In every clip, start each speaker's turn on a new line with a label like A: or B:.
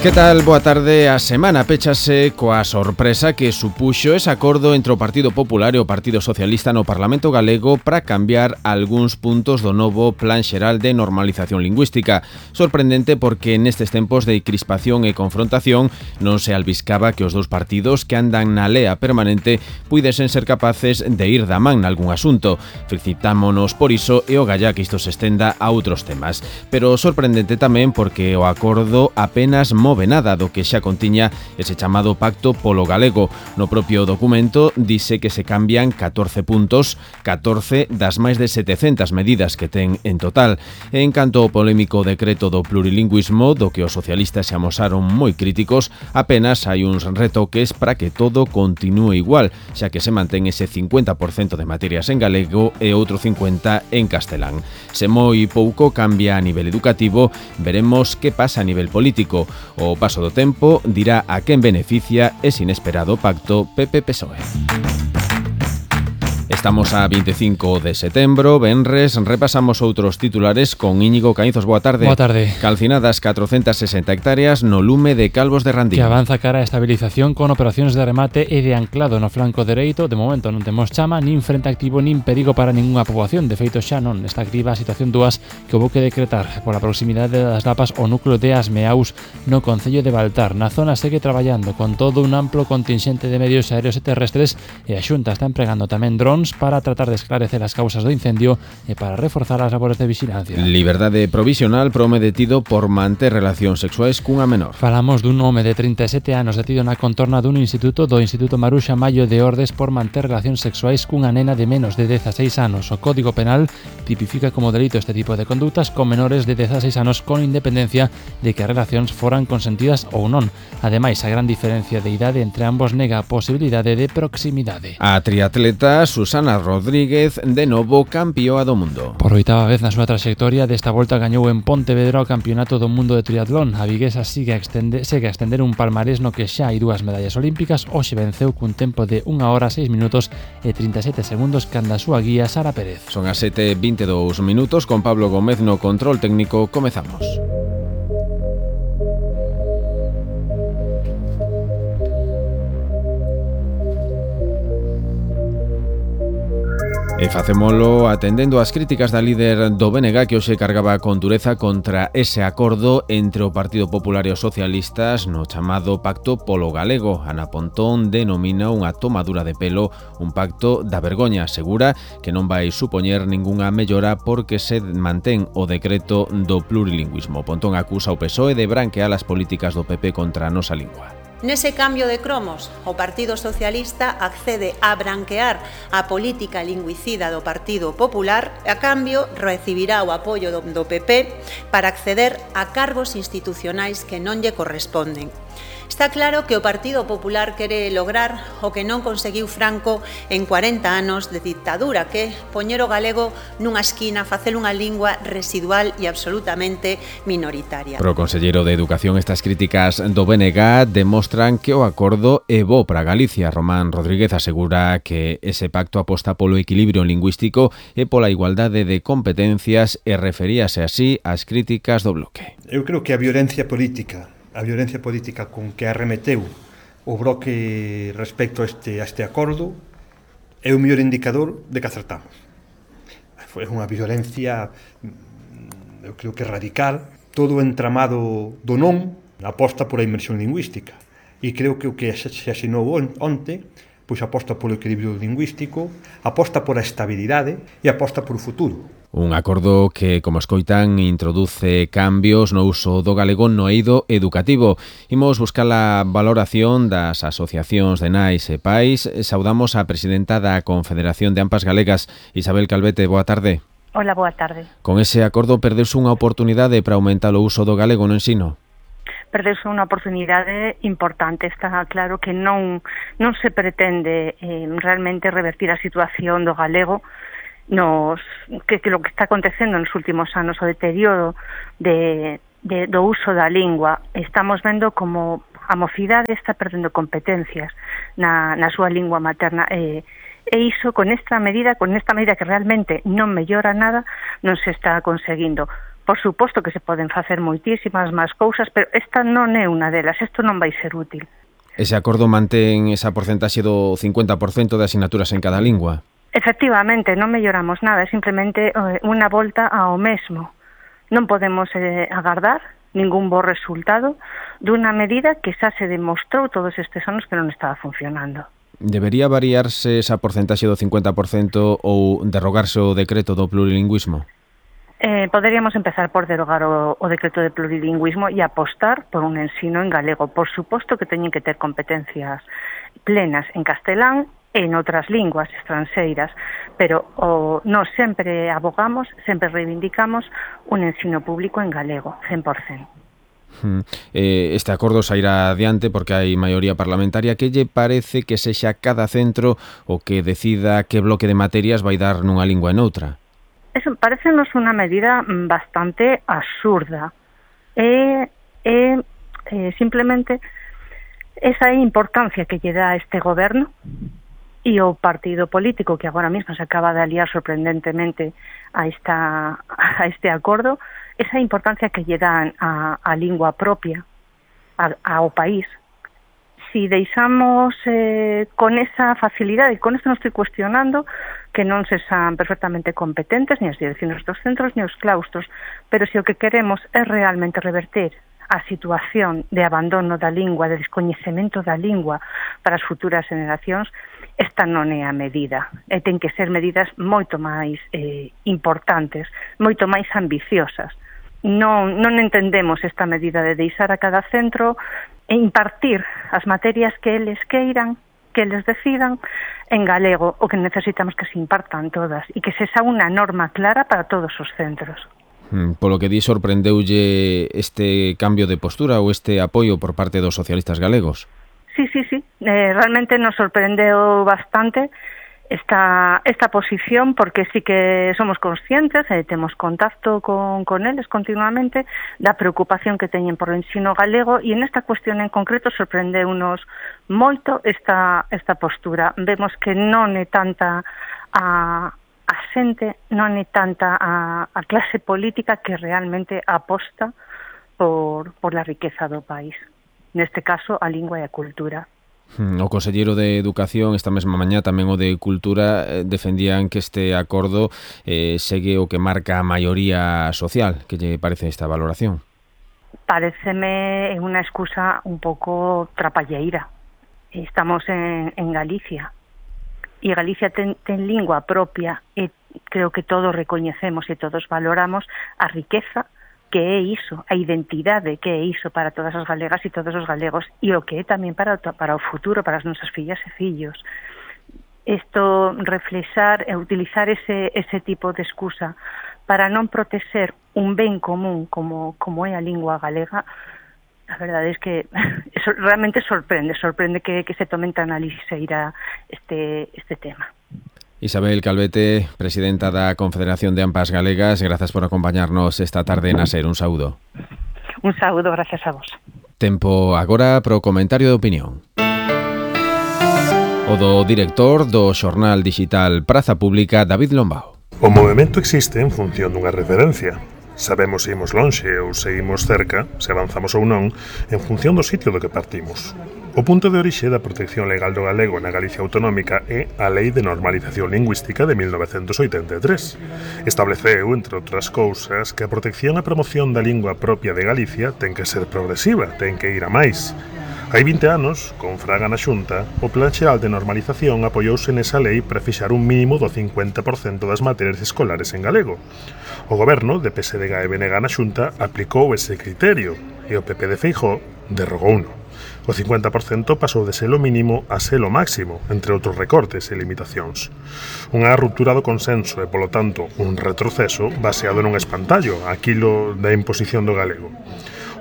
A: Que tal? Boa tarde. A semana péchase coa sorpresa que supuxo ese acordo entre o Partido Popular e o Partido Socialista no Parlamento Galego para cambiar algúns puntos do novo Plan Xeral de Normalización Lingüística. Sorprendente porque nestes tempos de crispación e confrontación non se albiscaba que os dous partidos que andan na lea permanente puidesen ser capaces de ir da man nalgún asunto. Felicitámonos por iso e o galla que isto se estenda a outros temas. Pero sorprendente tamén porque o acordo apenas move nada do que xa contiña ese chamado Pacto polo Galego. No propio documento dice que se cambian 14 puntos, 14 das máis de 700 medidas que ten en total. En canto ao polémico decreto do plurilingüismo, do que os socialistas se amosaron moi críticos, apenas hai uns retoques para que todo continúe igual, xa que se mantén ese 50% de materias en galego e outro 50% en castelán. Se moi pouco cambia a nivel educativo, veremos que pasa a nivel político. O paso do tempo dirá a quen beneficia ese inesperado pacto PP-PSOE. Estamos a 25 de setembro, venres, repasamos outros titulares con Íñigo Caínzos. Boa tarde.
B: Boa tarde.
A: Calcinadas 460 hectáreas no lume de Calvos de Randín.
B: Que avanza cara a estabilización con operacións de remate e de anclado no flanco dereito. De momento non temos chama, nin frente activo, nin perigo para ningunha poboación. De feito xa non está activa a situación 2 que houve que decretar pola proximidade das lapas o núcleo de Asmeaus no concello de Baltar. Na zona segue traballando con todo un amplo contingente de medios aéreos e terrestres e a Xunta está empregando tamén drons para tratar de esclarecer as causas do incendio e para reforzar as labores de vigilancia.
A: Liberdade provisional para home detido por manter relacións sexuais cunha menor.
B: Falamos dun home de 37 anos detido na contorna dun instituto do Instituto Maruxa Mallo de Ordes por manter relacións sexuais cunha nena de menos de 16 anos. O Código Penal tipifica como delito este tipo de conductas con menores de 16 anos con independencia de que as relacións foran consentidas ou non. Ademais, a gran diferencia de idade entre ambos nega a posibilidade de proximidade.
A: A triatleta Susana Rodríguez de novo campioa do mundo.
B: Por 8ª vez na súa traxectoria, desta volta gañou en Pontevedra o Campeonato do Mundo de Triatlón. A viguesa segue a extender un palmarés no que xa hai 2 medallas olímpicas. Hoxe venceu cun tempo de 1 hora 6 minutos e 37 segundos canda a súa guía Sara Pérez.
A: Son as 7:22 minutos con Pablo Gómez no control técnico. Comezamos. E facémolo atendendo ás críticas da líder do BNG que hoxe cargaba con dureza contra ese acordo entre o Partido Popular e os socialistas no chamado Pacto polo Galego. Ana Pontón denomina unha tomadura de pelo, un pacto da vergoña. Asegura que non vai supoñer ningunha mellora porque se mantén o decreto do plurilingüismo. Pontón acusa o PSOE de branquear as políticas do PP contra a nosa lingua.
C: Nese cambio de cromos, o Partido Socialista accede a branquear a política lingüicida do Partido Popular e, a cambio, recibirá o apoio do PP para acceder a cargos institucionais que non lle corresponden. Está claro que o Partido Popular quere lograr o que non conseguiu Franco en 40 anos de dictadura, que poñer o galego nunha esquina, facer unha lingua residual e absolutamente minoritaria.
A: Pro conselleiro de Educación, estas críticas do BNG demostran que o acordo é bo para Galicia. Román Rodríguez asegura que ese pacto aposta polo equilibrio lingüístico e pola igualdade de competencias e referíase así ás críticas do bloque.
D: Eu creo que a violencia política con que arremeteu o bloque respecto a este acordo é o mellor indicador de que acertamos. Foi unha violencia, eu creo que radical, todo o entramado do non aposta por a inmersión lingüística. E creo que o que se asinou onte, pois aposta polo equilibrio lingüístico, aposta por a estabilidade e aposta por o futuro.
A: Un acordo que, como escoitan, introduce cambios no uso do galego no eido educativo. Imos buscar a valoración das asociacións de nais e pais. Saudamos a presidenta da Confederación de AMPAs Galegas, Isabel Calvete. Boa tarde.
E: Hola, boa tarde.
A: Con ese acordo perdeuse unha oportunidade para aumentar o uso do galego no ensino?
E: Perdeuse unha oportunidade importante. Está claro que non se pretende realmente revertir a situación do galego que lo que está acontecendo nos últimos anos, o deterioro do uso da lingua. Estamos vendo como a mocidade está perdendo competencias na súa lingua materna e iso con esta medida que realmente non mellora nada, non se está conseguindo. Por suposto que se poden facer moitísimas máis cousas, pero esta non é unha delas, isto non vai ser útil.
A: Ese acordo mantén esa porcentaxe do 50% de asignaturas en cada lingua?
E: Efectivamente, non melloramos nada, é simplemente unha volta ao mesmo. Non podemos agardar ningún bo resultado dunha medida que xa se demostrou todos estes anos que non estaba funcionando.
A: Debería variarse esa porcentaxe do 50% ou derrogarse o decreto do plurilingüismo?
E: Poderíamos empezar por derogar o decreto de plurilingüismo e apostar por un ensino en galego. Por suposto que teñen que ter competencias plenas en castelán e en outras linguas estranxeiras, pero nós sempre abogamos, sempre reivindicamos un ensino público en galego, 100%.
A: Este acordo sairá adiante porque hai maioría parlamentaria. Que lle parece que sexa cada centro o que decida que bloque de materias vai dar nunha lingua e noutra?
E: Eso parecenos unha medida bastante absurda. Simplemente esa importancia que lle dá este goberno e o partido político que agora mesmo se acaba de aliar sorprendentemente a este acordo, esa importancia que lle dan a lingua propia ao país. Si deixamos con esa facilidade, con isto non estoy cuestionando que non se san perfectamente competentes ni as direccións dos centros ni os claustros, pero se o que queremos é realmente reverter a situación de abandono da lingua, de descoñecemento da lingua para as futuras generacións, esta non é a medida. Ten que ser medidas moito máis importantes, moito máis ambiciosas. Non entendemos esta medida de deixar a cada centro e impartir as materias que eles queiran, que eles decidan en galego, o que necesitamos que se impartan todas e que se xa unha norma clara para todos os centros.
A: Polo que di, sorprendeulle este cambio de postura ou este apoio por parte dos socialistas galegos?
E: Sí. Realmente nos sorprendeu bastante esta posición, porque sí que somos conscientes, temos contacto con eles continuamente, da preocupación que teñen por o ensino galego, e en esta cuestión en concreto sorprendeunos moito esta postura. Vemos que non é tanta a xente, non é tanta a clase política que realmente aposta por la riqueza do país. Neste caso, a lingua e a cultura.
A: O conselleiro de Educación esta mesma mañá, tamén o de Cultura, defendían que este acordo segue o que marca a maioría social. Que lle parece esta valoración?
E: Pareceme unha excusa un pouco trapalleira. Estamos en Galicia e Galicia ten lingua propia e creo que todos recoñecemos e todos valoramos a riqueza que é iso, a identidade que é iso para todas as galegas e todos os galegos, e o que é tamén para o futuro, para as nosas fillas e fillos. Isto, reflexar e utilizar ese tipo de excusa para non protexer un ben común como é a lingua galega, a verdade é que eso realmente sorprende que se tomen tan a lixeira este tema.
A: Isabel Calvete, presidenta da Confederación de AMPAs Galegas, grazas por acompañarnos esta tarde na SER. Un saúdo.
E: Un saúdo, gracias a vos.
A: Tempo agora pro comentario de opinión. O do director do xornal digital Praza Pública, David Lombao.
F: O movemento existe en función dunha referencia. Sabemos se imos lonxe ou se imos cerca, se avanzamos ou non, en función do sitio do que partimos. O punto de orixe da protección legal do galego na Galicia autonómica é a Lei de Normalización Lingüística de 1983. Estableceu, entre outras cousas, que a protección e promoción da lingua propia de Galicia ten que ser progresiva, ten que ir a máis. Hai 20 anos, con Fraga na Xunta, o Plan Xeral de Normalización apoiouse nesa lei para fixar un mínimo do 50% das materias escolares en galego. O goberno de PSDG e BNG na Xunta aplicou ese criterio e o PP de Feijóo derrogouno. O 50% pasou de selo mínimo a selo máximo, entre outros recortes e limitacións. Unha ruptura do consenso e, polo tanto, un retroceso baseado nun espantallo, aquilo da imposición do galego.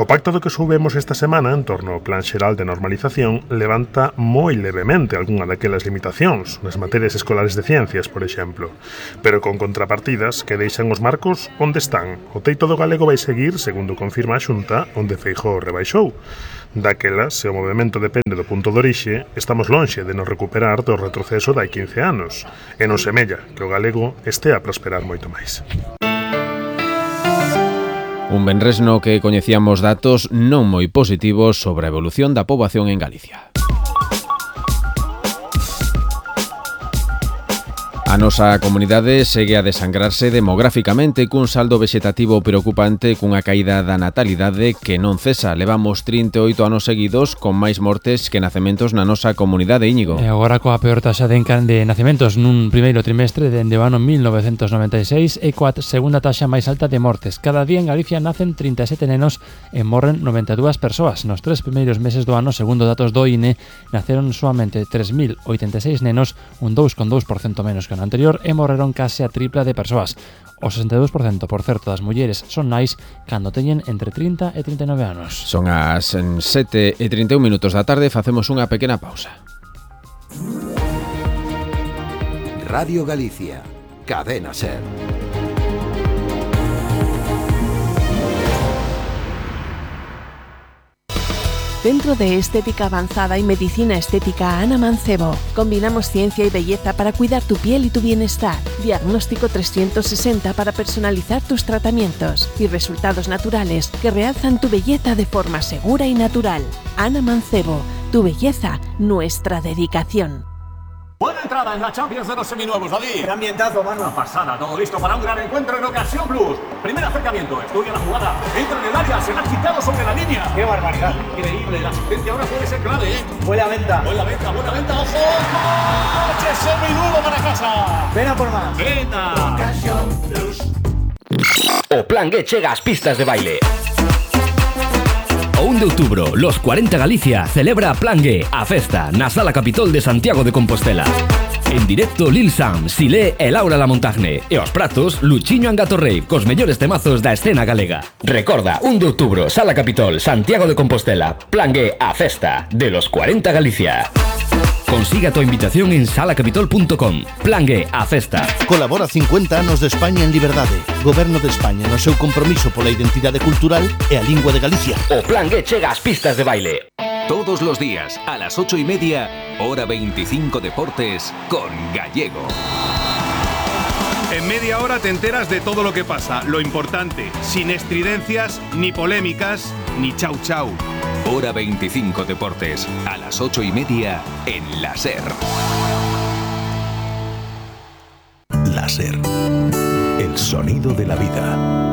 F: O pacto do que soubemos esta semana en torno ao Plan Xeral de Normalización levanta moi levemente algunha daquelas limitacións, nas materias escolares de ciencias, por exemplo, pero con contrapartidas que deixan os marcos onde están. O teito do galego vai seguir, segundo confirma a Xunta, onde Feijóo rebaixou. Daquela, se o movemento depende do punto de orixe, estamos lonxe de nos recuperar do retroceso de hai 15 anos, e non semella que o galego estea a prosperar moito máis.
A: Un venres no que coñecíamos datos non moi positivos sobre a evolución da poboación en Galicia. A nosa comunidade segue a desangrarse demográficamente cun saldo vexetativo preocupante cunha caída da natalidade que non cesa. Levamos 38 anos seguidos con máis mortes que nacementos na nosa comunidade, Íñigo.
B: E agora coa peor taxa de nacementos nun primeiro trimestre dende o ano 1996 e coa segunda taxa máis alta de mortes. Cada día en Galicia nacen 37 nenos e morren 92 persoas. Nos 3 primeiros meses do ano, segundo datos do INE, naceron soamente 3.086 nenos, un 2,2% menos que anterior, e morreron case a tripla de persoas. O 62%, por certo, das mulleres son nais cando teñen entre 30 e 39 anos.
A: Son as 7:31 da tarde, facemos unha pequena pausa.
G: Radio Galicia, Cadena SER.
H: Centro de Estética Avanzada y Medicina Estética Ana Mancebo. Combinamos ciencia y belleza para cuidar tu piel y tu bienestar. Diagnóstico 360 para personalizar tus tratamientos y resultados naturales que realzan tu belleza de forma segura y natural. Ana Mancebo, tu belleza, nuestra dedicación.
I: Buena entrada en la Champions de los seminuevos, David.
J: ¡Qué ambientazo, mano!
I: Una pasada, todo listo para un gran encuentro en Ocasión Plus. Primer acercamiento, estudia la jugada, entra en el área, se la ha quitado sobre la línea.
J: ¡Qué barbaridad!
I: Increíble, la asistencia ahora puede ser clave, ¿eh?
J: Buena venta,
I: buena venta, ojo. ¡Coche seminuevo para casa!
J: Ven a por más.
I: ¡Venta!
J: Ocasión Plus.
K: O Plan G chega ás pistas de baile. O 1 de outubro, Los 40 Galicia celebra Plan G, a festa, na Sala Capitol de Santiago de Compostela. En directo Lil Sam, Silé e Laura Lamontagne. E aos pratos, Luchiño Angatorrey, cos mellores temazos da escena galega. Recorda, 1 de outubro, Sala Capitol, Santiago de Compostela. Plan G, a festa de Los 40 Galicia. Consiga a tua invitación en salacapitol.com. Plan G, a festa.
L: Colabora 50 anos de España en liberdade. Goberno de España no seu compromiso pola identidade cultural e a lingua de Galicia.
K: O Plan G chega ás pistas de baile.
M: Todos los días, a las 8:30, hora 25 Deportes, con Gallego.
N: En media hora te enteras de todo lo que pasa, lo importante, sin estridencias, ni polémicas, ni chau chau.
M: Hora 25 Deportes, a las 8:30 en la SER.
G: La SER, el sonido de la vida.